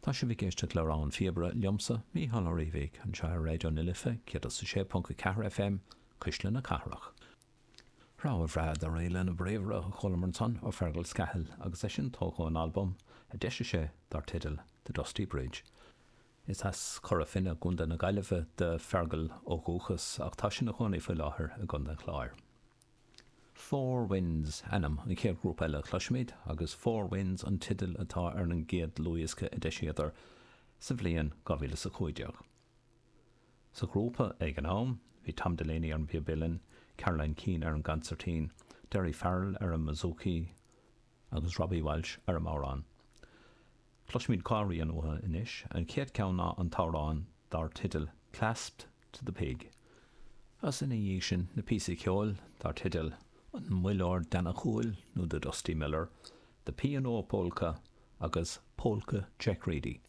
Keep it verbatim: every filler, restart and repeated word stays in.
Tá sibh ag éisteacht le Rogha an Phíobaire liomsa Mícheál Ó Riabhaigh anseo ar Raidió na Life céad a sé ponc a ceathair FM Cuisle na Cathrach. Rogha bhreá de Réile na bPríomhra chualamar ansan ó Fergal Scahill agus é sin tógtha ón albam a d'eisigh sé dar teideal The Dusty Bridge. Is as Cora Finne i gContae na Gaillimhe do Fergal ó dhúchas ach tá sé ina chónaí faoi láthair i gContae an Chláir. Four Winds ainm an chéad ghrúpa eile a chloisfimid agus Four Winds an teideal atá ar an gcéad dlúthdhiosca a d'eisíodar sa bhliain dhá mhíle is a cúig déag. Sa ghrúpa ag an am, bhí Tom Delaney ar an bpíob uilleann, Caroline Keane ar an gconsairtín, Derry Farrell ar an mbouzouki agus Robbie Walsh ar an mbodhrán. Cloisfimid dhá rian uathu anois, an chéad cheann ná an t-amhrán dar teideal Clasped to the Pig. Agus ina dhiaidh sin na píosaí ceoil dar teideal an Muilleoir Deannachúil nó The Dusty Miller, The P and O Polka agus Polka Jack Reedy.